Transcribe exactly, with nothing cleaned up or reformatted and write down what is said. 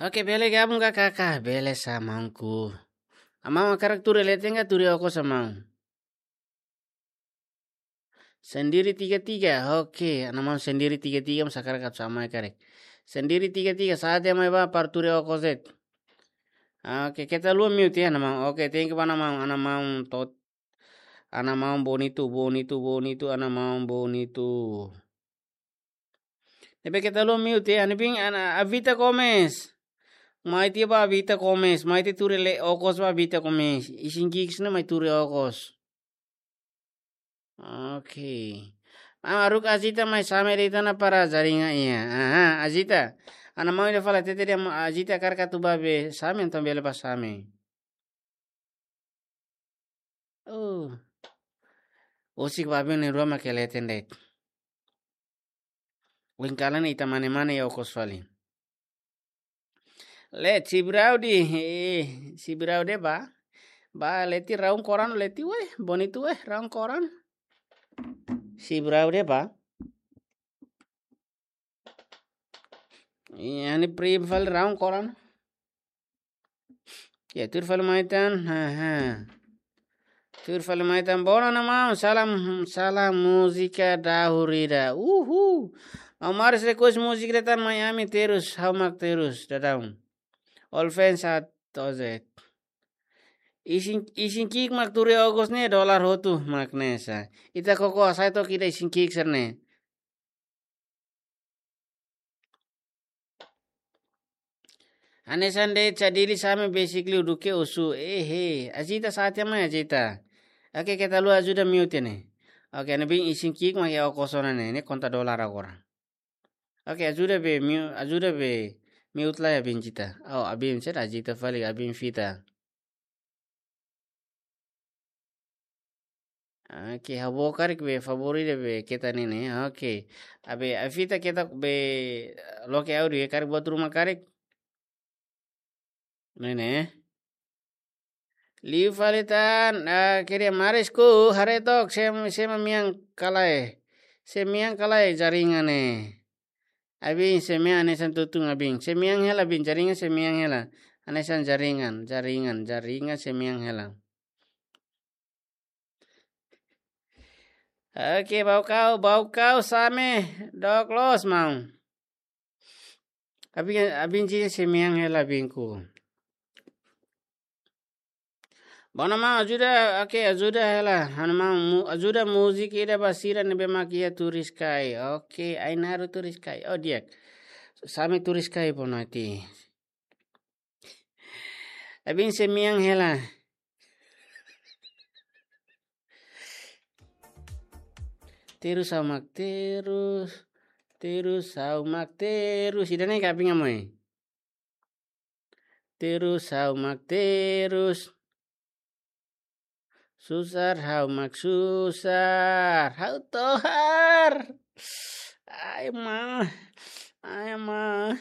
Oke, bele gabung ka kakak? Bele sa maunku. Amau hakarak tuur leten ka tuur okos amau? Sendiri tiga tiga. Oke, ana maun sendiri tiga tiga, mós hakarak atu sama karik. Sendiri tiga tiga, sa'e tiha mai ba para tuur okos de'it. Oke, keta haluha mute ya, ana maun. Oke, thank you ba ana maun, ana maun tot. Ana maun Bonito, Bonito, Bonito, ana maun Bonito. Ne'ebé keta haluha mute ya, ne'ebé ana Avita Gomes. Mai tiha ba Avita Gomes, mai tiha tuur okos ba Avita Gomes. Isin ki'ik sira-ne'e mai tuur okos. Oke. Maun, haruka Azita mai same de'it ona para jaringan iha. Aha, Azita. Ana maun ida fala hatete dehan Azita hakarak atu ba be same, entaun bele ba same. Oh. Husik ba avion na'in-rua mak leten de'it. Ohin kalan ita mane-mane iha okos fali. Leti Braudi, eh, si Braudi ba. Ba leti raun koran leti weh, Bonito weh, raun koran. Si Braudi ba. Iha ne'e prim fali raun koran. Ya, tuur fali mai tan. Ha, ha. Tuur fali mai tan. Bona na mau. Salam, salam múzika dahurida. Uhu. Mau maris request múzika de'it tan Miami terus, ha'u mak terus, dadaun. All fans at tozet. Isin, isin ki'ik mak tuur okos ne'e dolar hotu mak ne'e sa. Ita koko asai tok ida isin ki'ik sira-ne'e. Hanesan de'it sa Dili same basically duke osu. Ehe, Azita sa'e tiha mai Azita. Oke, keta haluha ajuda mute ne'e. Oke, ne'ebé isin ki'ik mak iha okos ona ne'e, ne'e konta dolar agora. Oke, ajuda be mute, ajuda be mute lai abin Zita. Oh, abin sira Azita fali abin Vita. Oke, ha'u book karik be favori ida be keta ne'e. Oke. Abe, Avita keta be loke audio ya karik buat rumah karik. Ne'e ne'e. Liu fali tan, ah, kere marisku, haree tok, sem-, sema miang kalai. Sem miang kalai jaringan ne'e. Abin, sem miang hanesan tutun abin. Sem miang hela abin, jaringan sem miang hela. Hanesan jaringan, jaringan, jaringan sem miang hela. Oke, bau kau, bau kau same, dook loos maun. Abin, abin ji sem miang hela abinku. Bona maun, ajuda, oke, ajuda hela. Ha'u-nia maun, mu-, ajuda múzika ida ba sira ne'ebé mak iha turis kai. Oke, Ainaro turis kai. Oh, di'ak. Same turis kai bona ti. Abin sem miang hela. Terus ha'u mak terus, terus ha'u mak terus. Ida-ne'e ka abin amoi. Terus ha'u mak terus. Susar ha'u mak susar. Ha'u tohar. Ai ma. Ai ma.